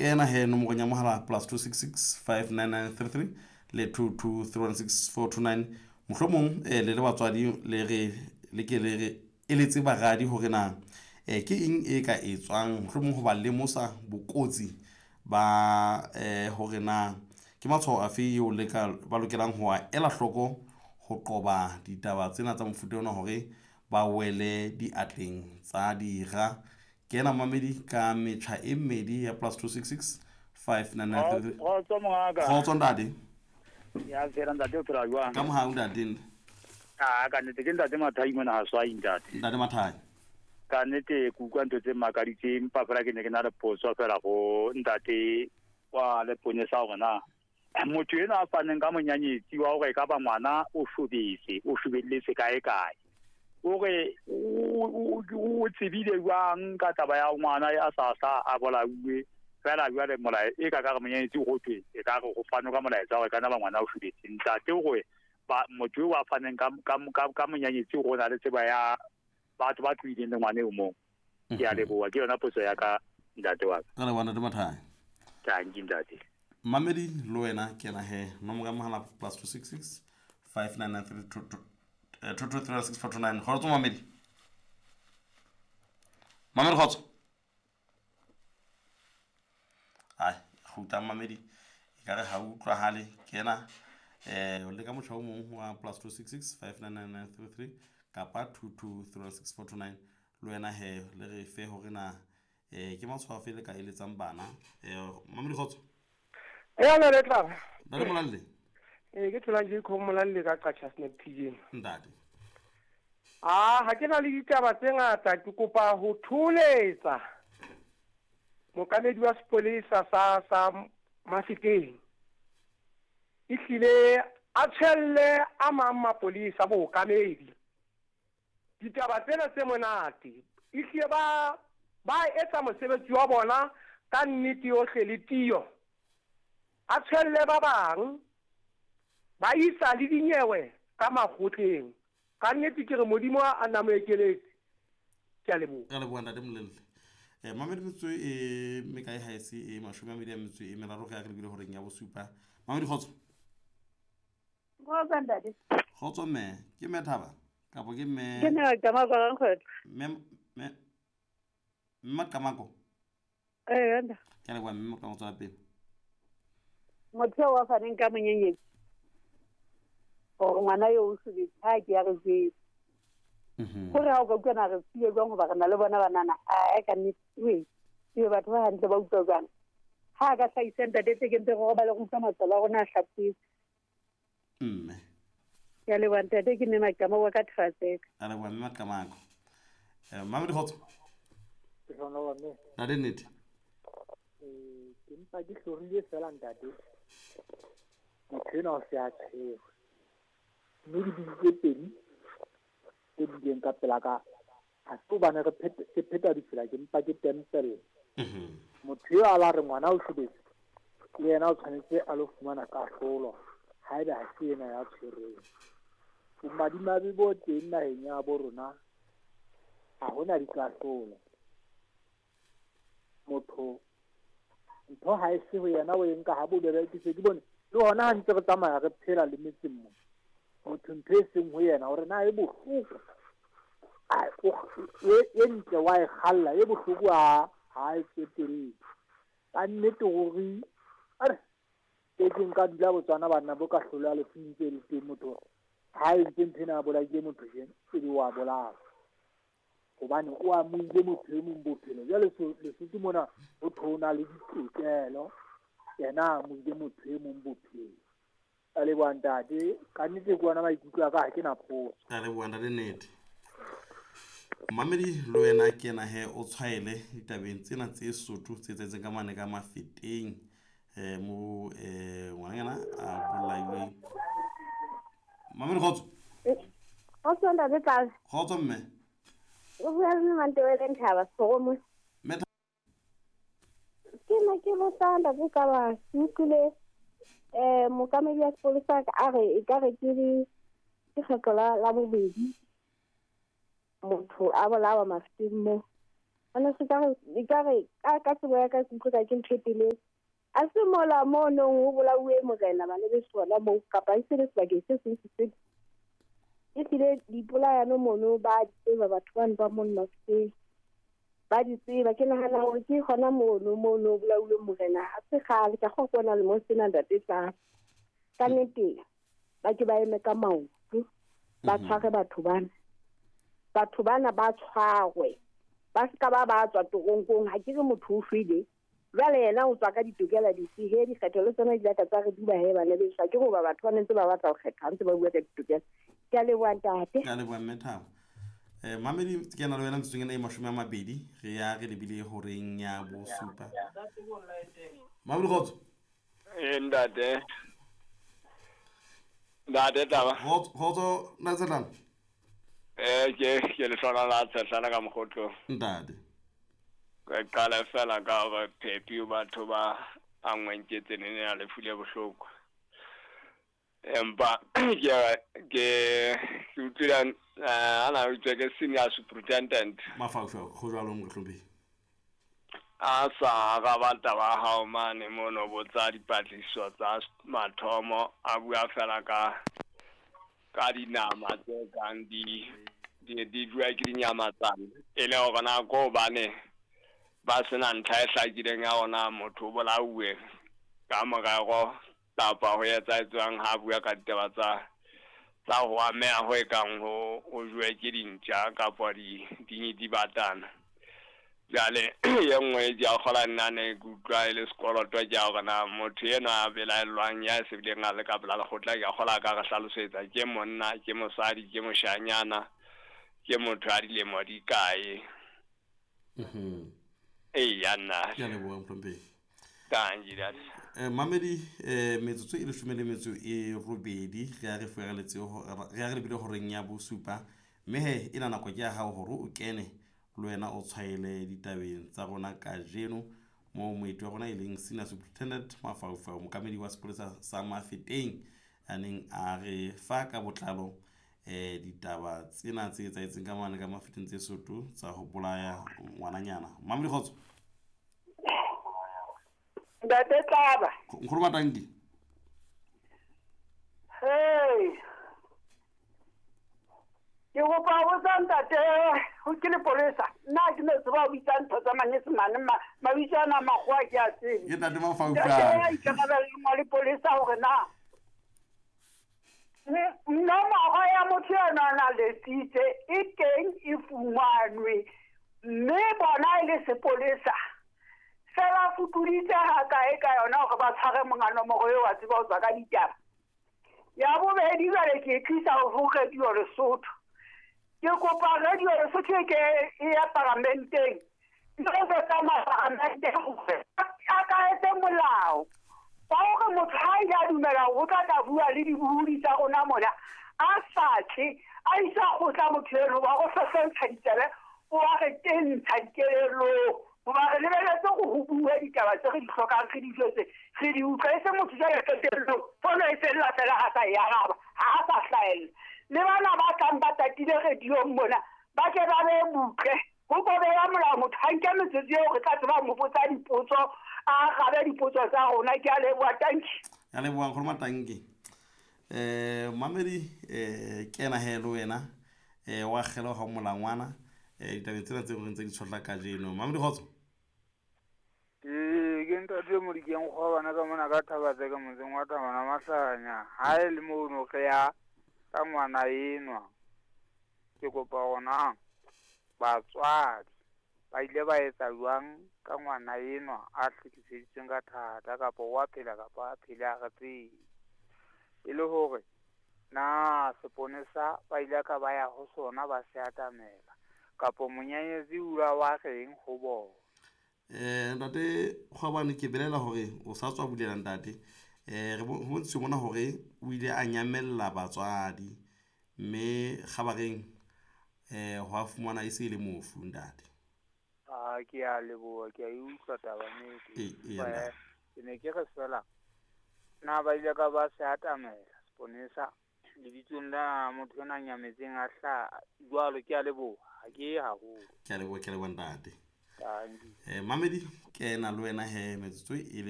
Kena he nomorong ya mohala plus 266 59933 le 22316429. Mohlomong le le batswadi le re le ke le re eletse baradi hore na ke eng e ka etswang, mohlomong ho ba lemosa bokotsi ba hore na ke matshwao afe eo le ka ba lokelang ho a ela hloko ho qoba ditaba tsena tsa mofuta ona hore ba wele diatleng tsa dira. Kena mamedi ka metjha e mmedi ya plus 266 599. Kgotso mongaka. Kgotso ntate. Ya fela ntate, o phela jwang? Ka mohau ntate. A ka nnete ke ntate Mathai mona ha swai ntate. Ntate Mathai. Ka nnete ke utlwa ntho tse makaditseng, empa fela ke ne ke na le potso fela go ntate wa leponesa hore na motho enwa a faneng ka monyanyetsi wa hore e ka ba ngwana o shobetse, o shobelletse kae kae, o re o tsebile jwang ka taba ya ngwana a sa sa a bolauwe fela jwale molae e ka ka re monyanyetsi go thwe e ka re go fanwe ka molaetsa hore e ka nna ba ngwana o shobetse. Ntate o re ba motho eo a faneng ka monyanyetsi go na le tseba ya batho ba tlohileng le ngwana eo moo. Ke a leboha, ke yona potso ya ka ntate wa ka. Ka leboha ntate Mathai. Thank you ntate. Mamedi le wena kena he nomoro ya mohala plus 266 599 2236429. Kgotso mamedi. Mamedi kgotso. Ai kgutla mamedi e ka re ha utlwahale. Kena o leka motjha o mong wa plus 266 59933 kapa 2236429. Le wena he le re fe hore na ke matshwao afe le ka eletsang bana. Mamedi kgotso. Ya na le tla. Ntate Molalle. Ke thola ke kho Molalle ka Qacha Snap TJ. Ntate. Ah, ha ke na le ditaba tse ngata, ke kopa ho tholetsa mookamedi wa sepolesa sa Mafikeng. Ehlile a tshwelle a mang mapolesa bookamedi. Ditaba tsena tse monate. Ehlile ba etsa mosebetsi wa bona ka nnete yohle le tiyo. A tshwelle ba bang ba isa le dinyewe ka makgotleng. Ka nnete ke re Modimo a nna mo ekeletse. Ke a leboha. Ka leboha ntate Molelle. Mamedi metsotso e mekae ha e se e 23 ge a re lebile horeng ya bosupa. Mamedi kgotso. Kgotso ntate. Kgotso mme, ke mme Thaba kapo ke mme? Ke mme Maqamako Rankgwetla. Mme Maqamako. Ee, ntate. Ke a leboha mme Maqamako, tswela pele. Motho eo wa faneng ka monyenyetsi hore ngwana eo o shobetse ha ke ya re jwetse. Hore ha o ka utlwa na re tsile jwang hoba re na le bona banana, a ka nnete we ebe batho ba hantle ba utlwa jwang. Ha ka hlahisa ntate tse ke ntse re robale re utlwa matswalo a rona a hlapetswe. Mme. Ke a leboha ntate, ke mme Maqamako wa ka Thaseka. A leboha mme Maqamako. Mamedi kgotso. Ke hlola wa mme. Ntate nnete. Ke mpa ke hlorile fela ntate. Motho enwa o se a tshwerwe. Mme dibili tse pedi tse bileng ka pela ka ha se hobane re ke pheta ditsela, ke mpa ke tempella. Motho eo a la re ngwana o shobetse, le yena o tshwanetse a lo fumana kahlolo haeba ha se yena ya tshwerweng. Bomadimabe bo teng naheng ya bo rona ha hona dikahlolo. Motho ntho ha e se ho yena o e nka ha bobebe. Ke se ke bone le hona ha ntse re tsamaya re phela le metseng mo. Motho ntho e seng ho yena hore na e bohloko e ntle wa e kgalla, e bohloko ha e tsotelle. Ka nnete hore are ke ke nka dula Botswana banna bo ka hlola lefu ntse le teng motho ha e ntse ntho ena a bolaile motho jeno ebe wa bolawa hobane o amohile motho e mong bophelo. Jwale Lesotho mona ho thwe o na le ditokelo, yena a amohile motho e mong bophelo. Ka leboha ntate, ka nnete ke ona maikutlo a ka, ha ke na potso. Ka leboha ntate nnete. Mamedi le wena ke ena he o tshwaele ditabeng tsena tse Sotho tse etsahetseng ka mane ka Mafeteng mo ngwananyana a bolailweng. Mamedi kgotso. Kgotso ntate Tlase. Kgotso mme. O bua le Mantebele Nthaba Soromo. Mme Ke ne ke botsa ntate Tlaba, ke utlwile mookamedi wa sepolesa a re e ka re ke kgetlo la bobedi motho a bolawa Mafeteng mo. Ana se ka re ekare ka tsebo ya ka ke utlwe ka ke ntho e telele. A se mola mono ho bolauwe morena bana beso hona moo kapa e se le sebakeng se seng se sele. Ehlile dipolayano mono ba di tseba batho bano ba mono Mafeteng. Ba di tseba. Ke nahana hore ke hona mono mono ho bolauwe morena. Ha se kgale ka kgolwa ke ona lemong sena ntate tla. Ka nnete ba ke ba eme ka maoto ba tshware batho bana. Batho bana ba tshwarwe. Ba se ka ba ba tswa toronkong. Ha ke re motho o shwele. Jwale yena o tswa ka ditokela dife he dikgetho le tsona di la ka tsa re duba he bana beso. Ha ke re hoba batho ba ne ntse ba batla ho kgetha ha ntse ba bua ka ditokelo. Ke a leboha ntate. Ke a leboha mme Thabo. Mamedi ke na le wena metsotsong ena e 20 re ya re lebile horeng ya bosupa. Mamedi kgotso. Ntate. Ntate Taba. Kgotso ntate Tshetlana. Ke lehlona la Tshetlana ka mokgotlo. Ntate. Re qala fela ka hore phepi batho ba angweng ke tsenene ya lefu le bohloko. Empa ke utlwile ana utlwe ke senior superintendent. Mafaufau go jwalo mohlomphehi. A sa araba taba ya hao mane mono botsa dipatlisiso tsa mathomo a bua fela ka dinama tse kang di bua ke dinyamatsane e le hore na ko hobane ba sena ntlha e hlakileng ya hore motho o bolauwe ka morero kapa ho etsahetswang ha bua ka ditaba tsa ho ameha ho ekang ho jowe ke dintja kapa dibatana. Jwale e nngwe ke a kgola nna ne ke utlwa e le sekoloto ke ya hore na motho enwa a belaellwang ya se bileng a le ka pela lekgotla ke a kgola ka re hlalosetsa ke monna ke mosadi ke moshanyana ke motho a dilemo di kae. Eya nna. Ke a leboha mohlomphehi. Tangi dad. Mamedi metsotso e 18 re ya re fuereletse re ya re lebile horeng ya bosupa mme he ena nako ke ya hao hore o kene le wena o tshwaele ditabeng tsa rona kajeno mo moeti wa rona e leng senior superintendent Mafaufau mookamedi wa sepolesa sa Mafeteng a neng a re fa ka botlalo ditaba tsena tse etsahetseng ka mane ka Mafeteng tse Sotho tsa ho bolaya ngwananyana. Mamedi kgotso. Ntate Tlaba. Nkgono Matanki. Hey. Ke kopa ho botsa ntate ho ke lepolesa. Nna ke no tseba ho bitsa ntho tsa manyesemane mabitso ana makgowa ke a tsebe. Ke ntate Mafaufau. Ntate ya ikarabellang wa lepolesa hore na nomoro ya motho enwa a na letsitse e teng e fumanwe mme bona e le sepolesa se ba fupuditse hakae ka yona hore ba tshware monga nomoro eo wa tseba ho tswa ka ditaba. Ya bobedi jwale ke e tlisa ho Radio Lesotho. Ke kopa Radio Lesotho e ke e ya paramenteng. Ntho tsa maparamente hore a ka etse molao wa hore motho ha ile a dumela hore o tla tla bua le dibuhudi tsa rona mona a sa tle a isa kgotla motho eno wa go hlohlentsha ditsebe o wa re tentsha dikelellong hoba re lebeletse hore ho bue ditaba tse re di hlokang re di jwetse re di utlwe e se motho jwale qetellong fono e fella fela ha sa e araba ha a sa hlahella. Le bana ba tlang ba tatile radiong mona ba ke ba be butle ho kobeya molao motho ha nke metsotso eo re tla tseba mo botsa dipotso a arabe dipotso tsa rona. Ke a leboha, tanki. Ya leboha nkgono Matanki. Mamedi kena he le wena wa kgela ha molangwana ditabeng tsena tse re ntse di tshotla kajeno. Mamedi kgotso. Ke ntate Modikeng Kgwabana ka mona ka Thabatse ka motseng wa Thabana Mahlanya. Ha e le mono re ya ka ngwana enwa. Ke kopa hona batswadi ba ile ba etsa jwang ka ngwana enwa a hlekefeditsweng ka thata kapa wa phela kapa a phele a re tsebe. E le hore na seponesa ba ile ka ba ya ho sona ba se atamela kapa monyanyetsi o la wa reng ho bona. Ntate Kgwabane ke belela hore o sa tswa bulela ntate. Re bontshitse mona hore o ile a nyamella batswadi mme kgabareng ho a fumana e se e le mofu ntate. A ke a leboha ke a e utlwa taba nnete. Ke ne ke re fela na ba ile ka ba se atamela seponesa lebitsong la motho ena nyametseng a hla jwalo. Ke a leboha ha ke ye haholo. Ke a leboha ntate. Tanki. Mamedi, ke na le wena he metsotso e le.